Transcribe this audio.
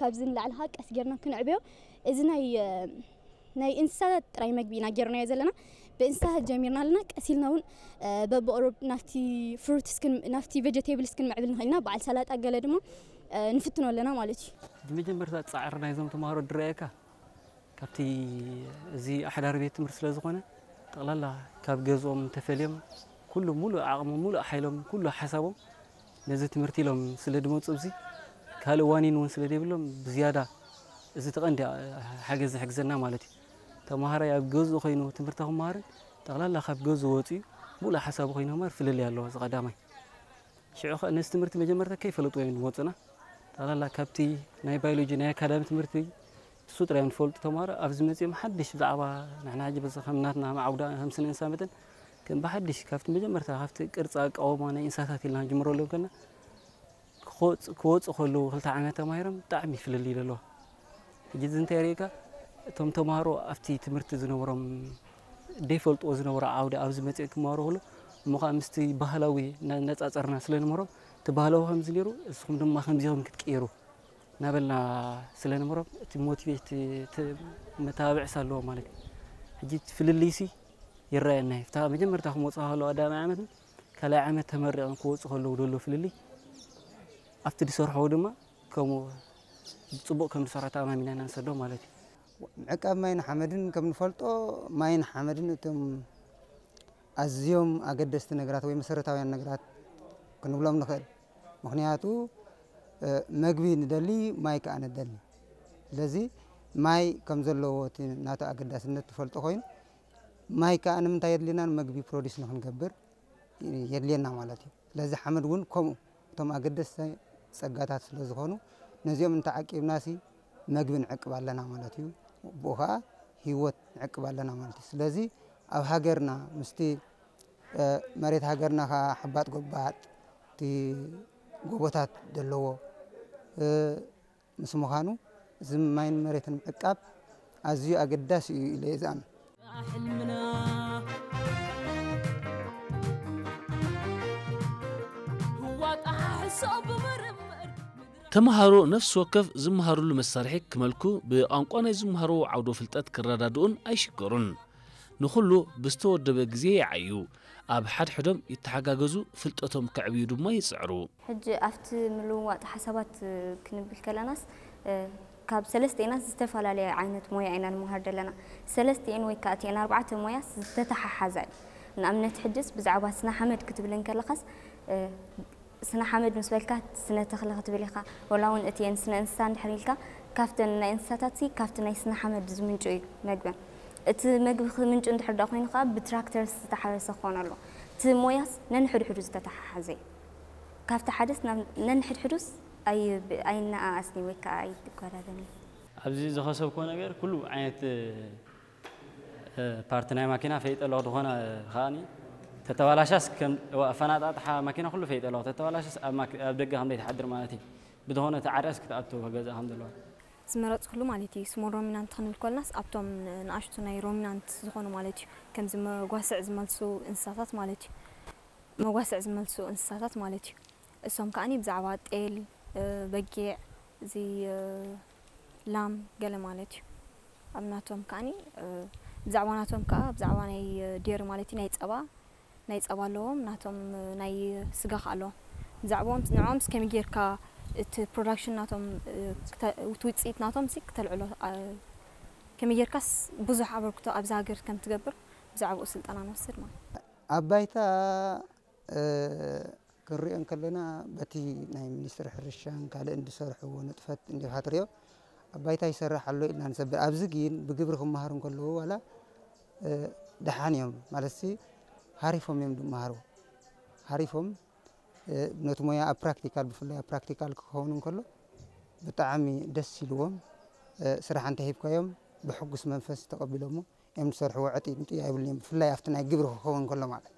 ካብዚ ንላዕሊ ኸዓ ቀስ ጌርና ክንዕብዮ፣ እዚ ናይ፣ እ፣ ናይ እንስሳታት ጥራይ መግቢ ኢና ጌርናዮ ዘለና። ብእንስሳታት ጀሚርና ኣለና። ቀስ ኢልና እውን፣ እ፣ በብቕሩብ ናብቲ ፍሩትስ ክን-፣ ናብቲ ቬጀቴብልስ ክንምዕብል ንኽእል ኢና። በዓል ሰላጣ ገለ ድማ፣ እ፣ ንፍትኖ ኣለና ማለት እዩ። ብመጀመርታ ጻዕሪ ናይዞም ተምሃሮ ድረኣየካ፣ ካብቲ እዚ ኣሕዳሪ ቤት ትምህርቲ ስለ ዝኾነ፣ ጠቕላላ ካብ ገዝኦም እንተፈልዮም፣ ኩሉ ሙሉእ ዓቕሞም፣ ሙሉእ ሓይሎም፣ ኩሉ ሓሳቦም ነዚ ትምህርቲ ኢሎም ስለ ዝመጹ፣ ኣብዚ ካልእ ዋኒን እውን ስለ ዘይብሎም፣ ብዝያዳ እዚ እቲ ቀንዲ ሓገዝ ዝሕግዘና ማለት እዩ። ተምሃራይ ኣብ ገዝኡ ኮይኑ ትምህርቲ ክመሃርን፣ ጠቕላላ ካብ ገዝኡ ወጺኡ ሙሉእ ሓሳቡ ኮይኑ ክመሃር ፍልልይ ኣለዎ። እዚ ቀዳማይ። ሽዑ ኸኣ ነዚ ትምህርቲ መጀመርታ ከይፈለጥዎ እዮም ዝመጹና። ጠቕላላ ካብቲ ናይ ባዮሎጂ ናይ ኣካዳሚ ትምህርቲ ንሱ ጥራይ እዮም ዝፈልጡ ተምሃሮ። ኣብዚ መጺኦም ሓድሽ ብዛዕባ ንሕና ሕጂ በዚ ከም ናትና ከም ዓውዳ ከም ስነ እንስሳ መጠን ከም ብሓድሽ ካብቲ መጀመርታ ካብቲ ቅርጺ ኣቃውማ ናይ እንስሳታት ኢልና ክንጅምረሎም ከለና ክወጽ-፣ ክወጹ ከለዉ ክልተ ዓመት ተማሂሮም ብጣዕሚ ፍልልይ ኣለዎ። ሕጂ እዚ እንታይ የርእየካ? እቶም ተምሃሮ ኣብቲ ትምህርቲ ዝነበሮም ዘይፈልጥዎ ዝነበሩ ዓውዲ ኣብዚ መጺኦም ክመሃሩ ከለዉ እሞ ኸኣ ምስቲ ባህላዊ እናነጻጸርና ስለ ንምህሮም እቲ ባህላዊ ከምዚ ነይሩ፣ እስኹም ድማ ከምዚ ኢኹም ክትቅየሩ እናበልና ስለ ንምህሮም እቲ ሞቲቬት፣ እቲ መተባብዒ ኣለዎ ማለት እዩ። ሕጂ እቲ ፍልልይሲ ይረኣየና እዩ። እታ መጀመርታ ክመጹ ከለዉ ቀዳማይ ዓመትን ካልኣይ ዓመት ተመሪቖም ክወጹ ከለዉ ዘሎ ፍልልይ ኣብቲ ዝሰርሕዎ ድማ ከምኡ ጽቡቕ ከም ዝሰርሑ ተኣማሚና ኢና ንሰዶም ማለት እዩ። ምዕቃብ ማይን ሓመድን ከም ንፈልጦ፣ ማይን ሓመድን እቶም ኣዝዮም ኣገደስቲ ነገራት ወይ መሰረታውያን ነገራት ክንብሎም ንኽእል። ምኽንያቱ፣ እ፣ መግቢ ንደሊ፣ ማይ ከኣ ንደሊ። ስለዚ ማይ ከም ዘለዎ እቲ ናቱ ኣገዳስነት ትፈልጦ ኮይኑ፣ ማይ ከኣ ንምንታይ የድልየና? ንመግቢ ፕሮዲስ ንኽንገብር የድልየና ማለት እዩ። ስለዚ ሓመድ እውን ከምኡ እቶም ኣገደስቲ ጸጋታት ስለ ዝኾኑ፣ ነዚኦም እንተዓቂብናሲ መግቢ ንዕቅብ ኣለና ማለት እዩ። ብኡ ኸኣ ህይወት ንዕቅብ ኣለና ማለት እዩ። ስለዚ ኣብ ሃገርና ምስቲ፣ እ፣ መሬት ሃገርና ኸኣ ሓባጥ ጎባጥ፣ እቲ ጎቦታት ዘለዎ፣ እ፣ ምስ ምዃኑ፣ እዚ ማይን መሬትን ምዕቃብ ኣዝዩ ኣገዳሲ እዩ ኢለ እየ ዝኣምን። ተምሃሮ ነፍሲ ወከፍ ዝመሃርሉ መሳርሒ ክመልኩ፣ ብቋንቋ ናይ ዝመሃርዎ ዓውዶ ፍልጠት ክረዳድኡን ኣይሽገሩን። ንኹሉ ብዝተወደበ ግዜ ይዓዩ። ኣብ ሓድሕዶም ይተሓጋገዙ፣ ፍልጠቶም ከዕብዩ ድማ ይጽዕሩ። ሕጂ ኣብቲ ምልውዋጥ ሓሳባት ክንብል ከለናስ ካብ ሰለስቲኤናስ ዝተፈላለየ ዓይነት ሞያ ኢና ንመሃር ዘለና። ሰለስቲኤን ወይ ከዓ እቲኤን ኣርባዕተ ሞያስ ዝተተሓሓዛ እዩ። ንኣብነት ሕጅስ ብዛዕባ ስነ ሓመድ ክትብል እንከለኻስ ስነ ሓመድ ምስ በልካ ስነ ተኽሊ ክትብል ኢኻ፣ ወላ እውን እቲኤን ስነ እንስሳ እንድሕር ኢልካ ካብተን ናይ እንስሳታት ሲ ካብቲ ናይ ስነ ሓመድ ዝምንጩ እዩ መግበን። እቲ መግቢ ክምንጩ እንድሕር ደኣ ኮይኑ ከዓ ብትራክተርስ ዝተሓረሰ ክኾን ኣለዎ። እቲ ሞያስ ነንሕድሕዱ ዝተተሓሓዘ እዩ። ካብቲ ሓደስ ናብ ነንሕድሕዱስ ኣይ ኣይነኣኣስኒ ወይ ከዓ ኣይጓዳደኒ። ኣብዚ ዝኸሰብኮ ነገር ኩሉ ዓይነት ፓርቲ ናይ ማኪና ፈይጠ ኣለኹ። ዝኾነ ከኣኒ ተተባላሻስ ከም ኣፈናጣጥሓ ማኪና ኩሉ ፈይጠ ኣለኹ። ተተባላሻስ ኣብ ደገ ከም ዘይትሓድር ማለት እዩ። ብዝኾነ ተዓርያስ ክትኣቱ ገዛ ከም ዘለዋ። ዝመረፅኩሉ ማለት እዩ። ስሞል ሮሚናንት ክንብል ኮልናስ ኣብቶም ንኣሽቱ ናይ ሮሚናንት ዝኾኑ ማለት እዩ። ከምዚ መጓስዕ ዝመልሱ እንስሳታት ማለት እዩ። መጓስዕ ዝመልሱ እንስሳታት ማለት እዩ። እሶም ከኣኒ ብዛዕባ ጤል፣ በጊዕ፣ እዚ ላም ገለ ማለት እዩ። ኣብ ናቶም ከኣኒ ብዛዕባ ናቶም ከኣ ብዛዕባ ናይ ዴሪ ማለት እዩ ናይ ጸባ ናይ ጸባ ኣለዎም ናቶም ናይ ስጋ ከኣ ኣለዎም። ብዛዕባኦም ንዕኦም ከመይ ጌርካ እቲ ፕሮዳክሽን ናቶም እቲ ውጽኢት ናቶም ሲ ክተልዕሎ ከመይ ጌርካስ ብዙሕ ኣበርክቶ ኣብዚ ሃገር ከም ትገብር ብዛዕባኡ ስልጠና ንወስድ ማለት። ኣብ ባይታ ክንሪኦ እንከለና በቲ ናይ ሚኒስትሪ ሕርሻን ካልእን ዝሰርሕዎ ንጥፈት እንዲኻ ትሪኦ ኣብ ባይታ ይሰርሕ ኣሎ ኢልና ንሰብር። ኣብዚ ግን ብግብሪ ክመሃሩ እንከለዉ ዋላ ደሓን እዮም ማለትሲ ሃሪፎም እዮም ዝመሃሩ። ሃሪፎም ነቲ ሞያ ኣብ ፕራክቲካል ብፍላይ ኣብ ፕራክቲካል ክኸውን እንከሎ ብጣዕሚ ደስ ኢልዎም ስራሕ እንተሂብካዮም ብሕጉስ መንፈስ ተቐቢሎሞ እዮም ዝሰርሕዎ። ዕጥይ ምጥይ ኣይብሉን እዮም ብፍላይ ኣብቲ ናይ ግብሪ ክኸውን እንከሎ ማለት